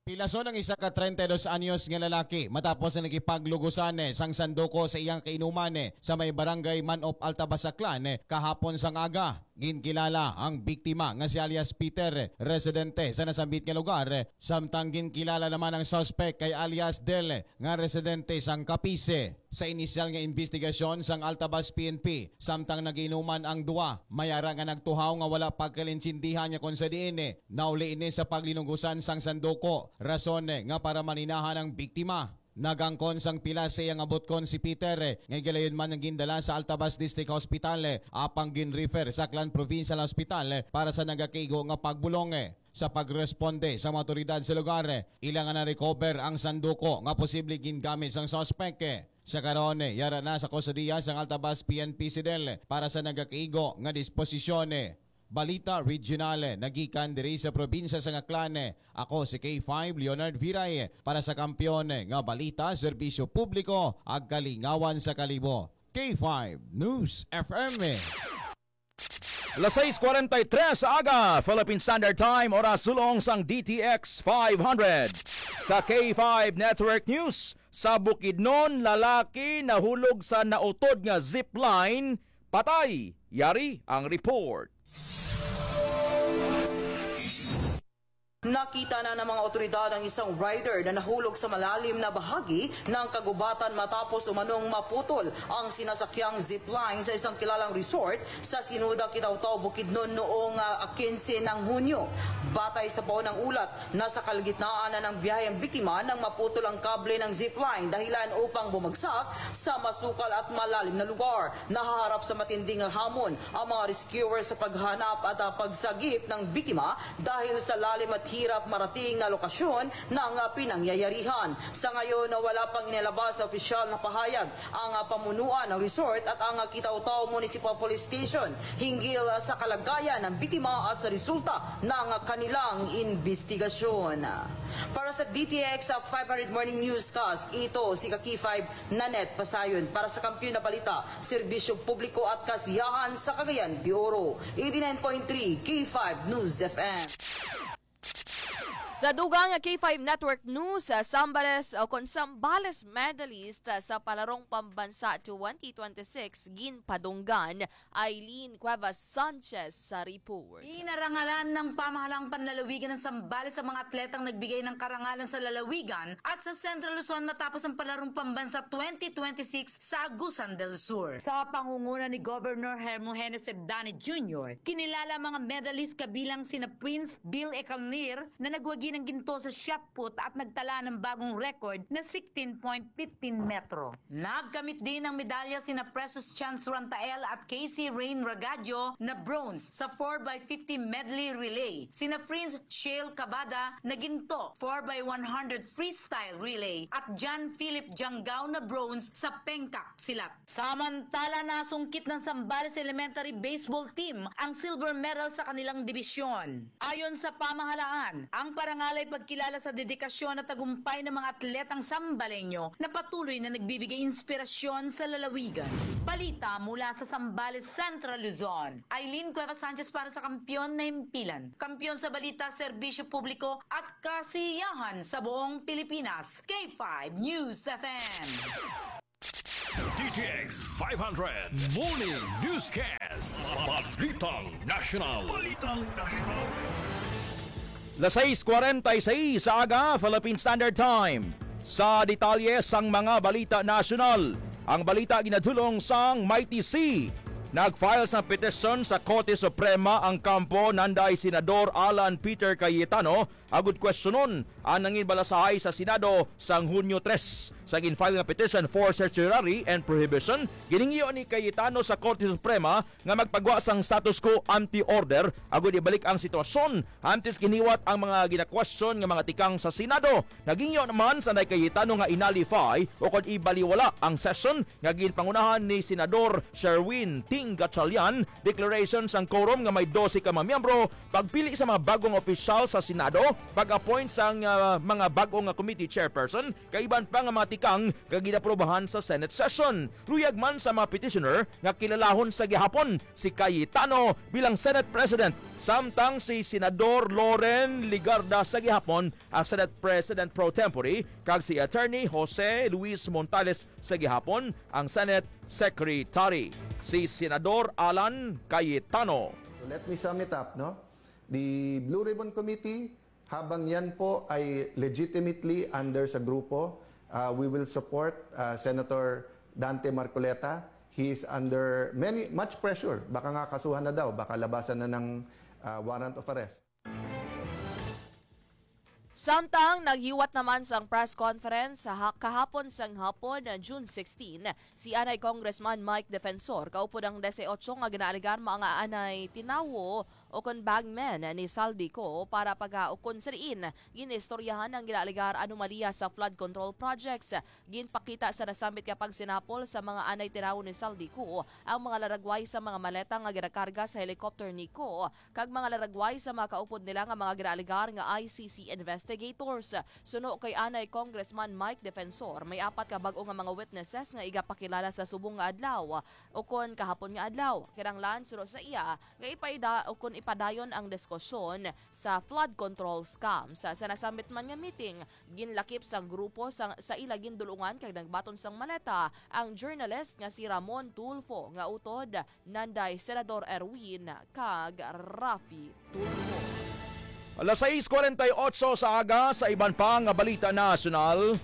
Pilason ang isa ka treinta y dos anyos nga lalaki matapos ang nakipaglugusan sang sanduko sa iyang kainuman sa may barangay Manop, Altabas, Aklan kahapon sang aga. Ginkilala ang biktima nga si alias Peter, residente sa nasambit nga lugar, samtang ginkilala naman ang suspect kay alias Del nga residente sang Capiz. Sa inisyal nga imbestigasyon sang Altabas P N P, samtang nagiinuman ang duwa, may ara nga nagtuhaw nga wala pagkalintindihan nga kon sa diin nauli ini sa paglinugusan sang sanduko, rason nga para maninahan ang biktima. Nagangkon sang pila sa iya nga butkon si Peter, nga gilayon man nga gindala sa Altabas District Hospital, apang gin-refer sa Aklan Provincial Hospital para sa nagakaigo nga pagbulong. Sa pagresponde sa mga awtoridad sa lugar, ila nga na-recover ang sanduko nga posible gingamit sang suspek. Sa karon, yara na sa kustodiya sang Altabas P N P si Del para sa nagakaigo nga disposisyon. Balita Regional, nagikan diri sa probinsya sang Aklan. Ako si K five Leonard Viray para sa Kampiyon nga Balita, Serbisyo Publiko, ag Kalingawan sa Kalibo. K five News F M. Las sais cuarenta y tres sa aga, Philippine Standard Time, oras sulong sang D T X five hundred. Sa K five Network News, sa Bukidnon, lalaki nahulog sa nautod nga zipline, patay. Yari ang report. Nakita na ng mga otoridad ang isang rider na nahulog sa malalim na bahagi ng kagubatan matapos umanong maputol ang sinasakyang zipline sa isang kilalang resort sa Sinuda, Kitaw-Taw, Bukidnon noong, ah, kinse ng Hunyo. Batay sa paunang ulat, nasa kalagitnaan na ng biyahe ang biktima nang maputol ang kable ng zipline, dahilan upang bumagsak sa masukal at malalim na lugar. Nahaharap sa matinding hamon ang mga rescuer sa paghanap at, ah, pagsagip ng biktima dahil sa lalim at hirap marating na lokasyon ng, ah, pinangyayarihan. Sa ngayon, wala pang inilabas na opisyal na pahayag ang, ah, pamunuan ng resort at ang, ah, Kitaw-Taw Municipal Police Station hinggil, ah, sa kalagayan ng biktima at sa resulta ng, ah, kanilang imbestigasyon. Para sa D T X five hundred Morning Newscast, ito si Kaki five Nanette Pasayon. Para sa Kampiyon na Balita, Serbisyo Publiko at Kasiyahan sa Cagayan de Oro, eighty-nine point three K five News F M. Sa dugang nga K five Network News, ah, Sambales, o kon Sambales medalist, ah, sa Palarong Pambansa twenty twenty-six, ginpadunggan. Eileen Cuevas Sanchez sa report. Inarangalan ng pamahalang panlalawigan ng Sambales sa mga atletang nagbigay ng karangalan sa lalawigan at sa Central Luzon matapos ang Palarong Pambansa twenty twenty-six sa Agusan del Sur. Sa pangunguna ni Governor Hermogenes Sebdane Junior, kinilala ang mga medalist kabilang sina Prince Bill Ecanlir na nagwagi ng ginto sa shot put at nagtala ng bagong record na sixteen point fifteen metro. Nagkamit din ng medalya sina Precious Chance Rantael at Casey Rain Ragadio na bronze sa four by fifty medley relay, sina Prince Shale Cabada na ginto four by one hundred freestyle relay at John Philip Janggaw na bronze sa pengkak silat. Samantala, nasungkit ng Sambales Elementary Baseball Team ang silver medal sa kanilang dibisyon. Ayon sa pamahalaan, ang parangal ay pagkilala sa dedikasyon at tagumpay ng mga atletang Sambaleño na patuloy na nagbibigay inspirasyon sa lalawigan. Balita mula sa Sambales, Central Luzon. Eileen Cuevas Sanchez para sa Kampiyon na Himpilan. Kampiyon sa balita, serbisyo publiko at kasiyahan sa buong Pilipinas. K five News F M. D T X five hundred Morning Newscast. Balitang National. Balitang National. Las sais cuarenta y seis sa aga, Philippine Standard Time. Sa detalye sang mga balita nasyonal, ang balita ginadulong sang Mighty C. Nag-file sang petisyon sa Korte Suprema ang kampo nanday Senador Alan Peter Cayetano agud kwestiyonon ang nangin balasahay sa Senado sang Hunyo tres. Sa gin-file nga petition for certiorari and prohibition, ginhingyo ni Cayetano sa Korte Suprema nga magpagwa sang status quo ante order agud ibalik ang sitwasyon antes ginhiwat ang mga ginakwestiyon nga mga tikang sa Senado. Naghingyo naman si Nanay Cayetano nga i-nullify o kon ibaliwala ang session nga ginpangunahan ni Senador Sherwin T. Gatchalian, declaration sang quorum nga may dose ka mga miyembro, pagpili sa mga bagong opisyal sa Senado, pag-appoint sang, ah, mga bagong nga committee chairperson, kag iban pa nga mga tikang nga ginaprobahan sa Senate session. Luyag man sa mga petitioner nga kilalahon sa gihapon si Cayetano bilang Senate President, samtang si Senador Loren Legarda sa gihapon ang Senate President pro tempore, kag si Attorney Jose Luis Montales sa gihapon ang Senate Secretary. Si Senador Alan Cayetano. So let me sum it up, no? The Blue Ribbon Committee, habang yan po ay legitimately under sa grupo, uh, we will support, uh, Senator Dante Marcoleta. He is under many, much pressure. Baka nga kasuhan na daw, baka labasan na ng, uh, warrant of arrest. Samtang naghiwat naman sang press conference sa ha- kahapon sang hapon, June sixteen, si anay Congressman Mike Defensor, kaupod ang dese otso nga ginaalegar mga anay tinawo o kon bagmen ni Zaldy Co para paghaukon sa diin ginistoryahan ang ginaalegar anomalya sa flood control projects. Ginpakita sa nasambit nga pagsinapol sa mga anay tinawo ni Zaldy Co ang mga laragway sa mga maleta nga ginakarga sa helicopter ni Co kag mga laragway sa mga kaupod nila nga mga ginaalegar nga I C C investigators. Suno kay anay Congressman Mike Defensor, may apat ka bag-o nga mga witnesses nga igapakilala sa subong nga adlaw ukon kahapon nga adlaw. Kinahanglan, suno sa iya, nga ipaida ukon ipadayon ang diskusyon sa flood control scam. Sa, sa nasambit man nga meeting, ginlakip sang grupo sa, sa ila gindulungan kag nagbaton sang maleta ang journalist nga si Ramon Tulfo nga utod nanday Senador Erwin kag Raffy Tulfo. Alas sais kuwarenta y otso sa aga, sa iban pa nga balita nasyonal,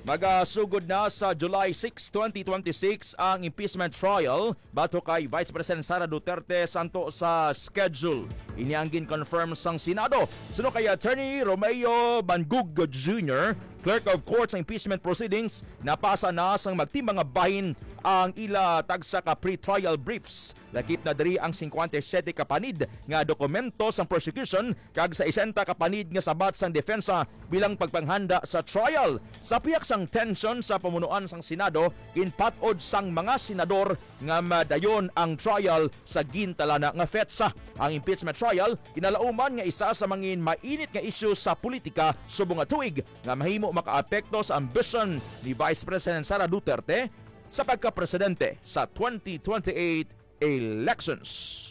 magasugod na sa July six, twenty twenty-six ang impeachment trial batok kay Vice President Sara Duterte santo sa schedule. Ini ang gin-confirm sang Senado. Suno kay Attorney Romeo Bangug Junior, Clerk of Court sa impeachment proceedings, napasa na sang magtimbang nga bahin ang ila tagsa ka pre-trial briefs. Lakip na diri ang singkwenta y siyete ka panid nga dokumento sang prosecution kag sa sesenta ka panid nga sabat sang depensa bilang pagpanghanda sa trial. Sa pihak sang tensyon sa pamunuan sang Senado, ginpat-od sang mga senador nga madayon ang trial sa gintalana nga petsa. Ang impeachment trial ginalauman nga isa sa mangin mainit nga isyu sa politika subong nga tuig nga mahimo makaapekto sa ambisyon ni Vice President Sara Duterte sa pagkapresidente sa twenty twenty-eight elections.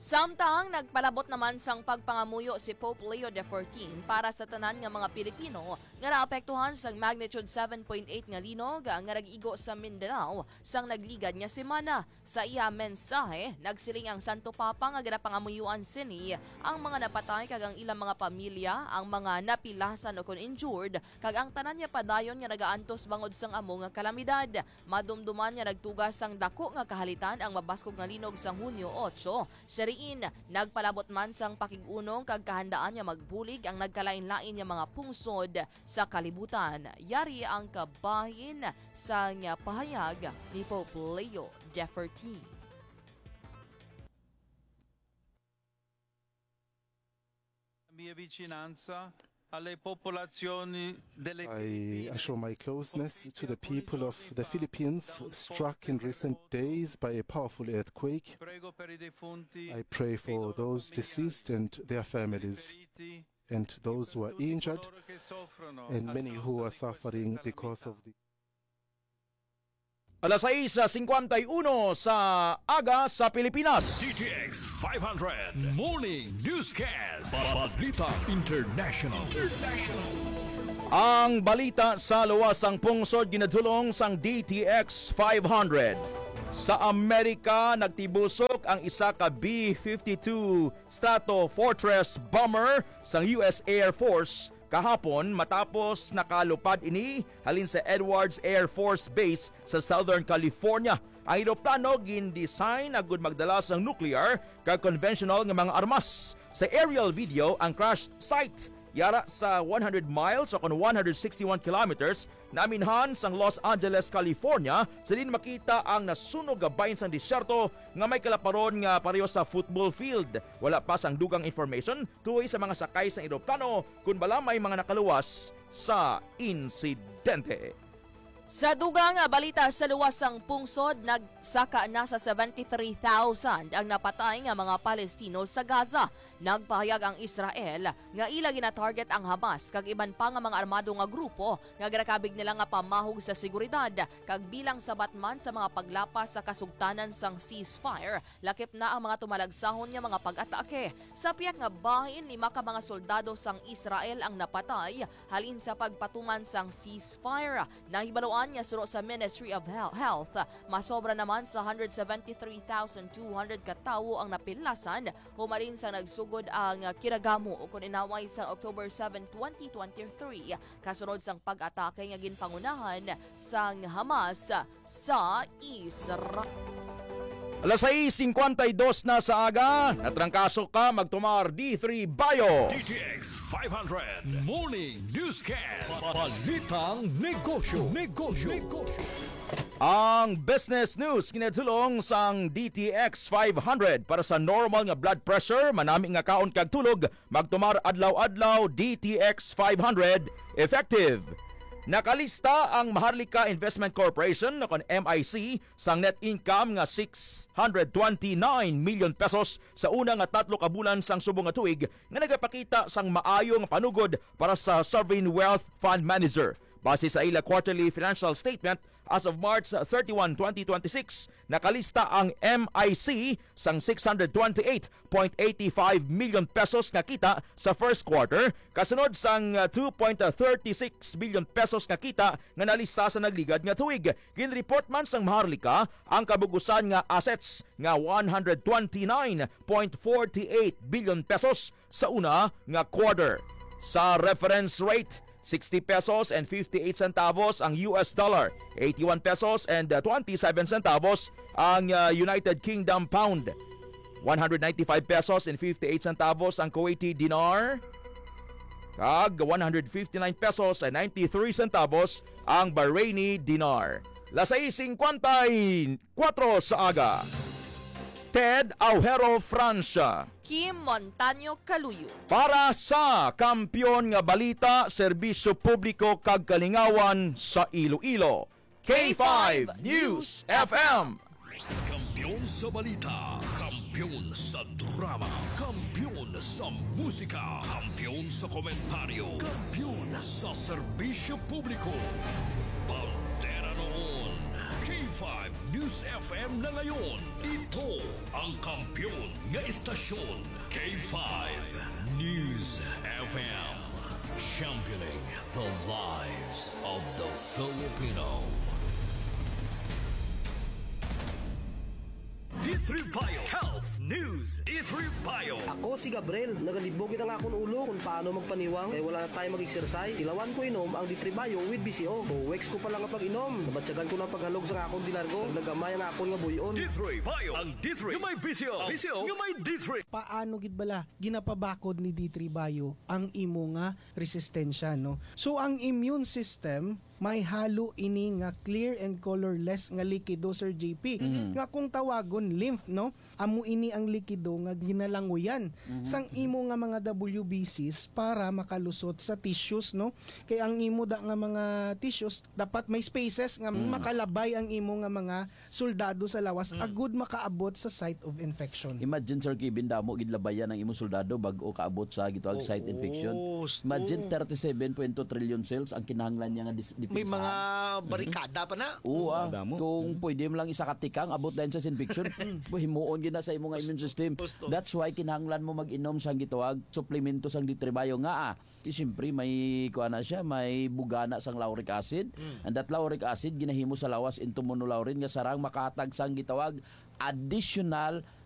Samtang nagpalabot naman sang pagpangamuyo si Pope Leo the fourteenth para sa tanan nga mga Pilipino nga naapektuhan sang magnitude seven point eight nga linog nga nag-igo sa Mindanao sang nagligad nga semana. Sa iya mensahe, nagsiling ang Santo Papa nga ginapangamuyoan sini ang mga napatay kag ang ilang mga pamilya, ang mga napilasan ukon injured, kag ang tanan nga padayon nga nagaantos bangod sang amo nga kalamidad. Madumduman nga nagtuga sang dako nga kahalitan ang mabaskog nga linog sang Hunyo otso. Siya riin, nagpalabot man sang pakig-unong kag kahandaan nga magbulig ang nagkalain-lain nga mga pungsod sa kalibutan. Yari ang kabahin sang pahayag ni Pope Leo the fourteenth. La mia vicinanza alle popolazioni delle I assure my closeness to the people of the Philippines struck in recent days by a powerful earthquake. Prego per i defunti, I pray for those deceased and their families, feriti, and those who are injured, coloro che soffrono and a many who are causa di suffering questa because calamita. Of the Alas sais cincuenta y uno sa aga sa Pilipinas. D T X five hundred Morning Newscast. Balita International. International. Ang balita sa luwas sang pungsod ginadulong sang D T X five hundred. Sa Amerika, nagtibusok ang isa ka B fifty-two Stratofortress bomber sang U S Air Force kahapon matapos nakalupad ini halin sa Edwards Air Force Base sa Southern California. Ang eroplano gin-design agud magdala sang nuclear kag conventional nga mga armas. Sa aerial video, ang crash site yara sa one hundred miles o kon one hundred sixty-one kilometers naaminhan sang Los Angeles, California, sa diin makita ang nasunog nga bahin sang disyerto nga may kalaparon nga pareho sa football field. Wala pa sang dugang information tuhoy sa mga sakay sang eroplano kon bala may mga nakaluwas sa insidente. Sa dugang nga balita, sa luwas sang pungsod, nagsaka na sa seventy-three thousand ang napatay nga mga Palestino sa Gaza. Nagpahayag ang Israel nga ila gina-target ang Hamas kag iban pa nga mga armado nga grupo nga ginakabig nila nga pamahog sa seguridad, kag bilang sabat man sa mga paglapas sa kasugtanan sang ceasefire, lakip na ang mga tumalagsahon nga mga pag-atake. Sa pihak nga bahin, lima ka mga soldado sang Israel ang napatay halin sa pagpatuman sang ceasefire. Nahibaluan nga suno sa Ministry of Hel-, Health, masobra naman sa hundred seventy-three thousand two hundred ka tawo ang napilasan humalin sa nagsugod ang kinagamo, o kon inaway, sa October seven, twenty twenty-three, kasunod sang pag-atake nga ginpangunahan sang Hamas sa Israel. Alas sais singkwenta y dos na sa aga, natrangkaso ka, magtumar D three Bio. D T X five hundred Morning Newscast. Balitang negosyo. Negosyo. Negosyo. Ang business news kinadulong sang D T X five hundred para sa normal nga blood pressure, manami nga kaon kag tulog, magtumar adlaw-adlaw, D T X five hundred effective. Nakalista ang Maharlika Investment Corporation, o kon M I C, sang net income nga six hundred twenty-nine million pesos sa una nga tatlo ka bulan sang subong nga tuig, nga nagapakita sang maayo nga panugod para sa sovereign wealth fund manager. Base sa ila quarterly financial statement, as of March thirty-one, twenty twenty-six, nakalista ang M I C sang six hundred twenty-eight point eighty-five million pesos nga kita sa first quarter, kasunod sang, uh, two point thirty-six billion pesos nga kita nga nalista sa nagligad nga tuig. Ginreport man sang Maharlika ang kabug-usan nga assets nga one hundred twenty-nine point forty-eight billion pesos sa una nga quarter. Sa reference rate, sixty pesos and fifty-eight centavos ang U S dollar, eighty-one pesos and, uh, twenty-seven centavos ang, uh, United Kingdom pound, one hundred ninety-five pesos and fifty-eight centavos ang Kuwaiti dinar, kag one hundred fifty-nine pesos and ninety-three centavos ang Bahraini dinar. Las sais singkwenta y kuwatro sa aga. Ted Aujero, Francia. Kim Montaño Caluyo. Para sa Kampiyon nga Balita, Serbisyo Publiko kag Kalingawan sa Iloilo, K five News F M. Kampiyon sa balita, kampiyon sa drama, kampiyon sa musika, kampiyon sa komentaryo, kampiyon sa serbisyo publiko. Bandera noon, K five News F M na ngayon. Ito ang kampiyon nga estasyon, K five News F M. Championing the lives of the Filipino. D three Bio Health News. D three Bio. Ako si Gabriel. Nagalibog gid ang akon ulo kung paano magpaniwang kay wala na tayo mag-exercise. Tilawan ko inom ang D three Bio with V C O. Two weeks ko pa lang nga pag-inom, nabatyagan ko na ang paghalog sa akon dilargo. Naggamay ang akon nga buy-on. D three Bio, ang D three nga may V C O. V C O nga may D three. Paano gid bala ginapabakod ni D three Bio ang imo nga resistensya, no? So, ang immune system, may halo ini nga clear and colorless nga likido, Sir J P, Mhm. nga kung tawagon lymph, no? Amo ini ang likido nga ginalanguyan Mhm. sang imo nga mga W B Cs para makalusot sa tissues, no? Kay ang imo da nga mga tissues, dapat may spaces nga Mm. makalabay ang imo nga mga soldado sa lawas, Mm. agud makaabot sa site of infection. Imagine, Sir Kevin, damo gid labayan ang imong soldado bag-o kaabot sa gitawag site Oo, infection. Sto. Imagine, thirty-seven point two trillion cells ang kinahanglan niya nga dis-, May mga depensahan. Mhm. barikada pa na. Oo, ah. Damo. Kung Mhm. pwede mo lang isa ka tikang, abot na yun sa infection. Himuon gid na sa imong immune system. Gusto. That's why kinahanglan mo mag-inom sang gitawag suplemento sang D three Bio nga, ah, Di siyempre, may, kuha na siya, may bugana sang lauric acid. Mm. And that lauric acid, ginahimo sa lawas into monolaurin nga sarang makahatag sang gitawag additional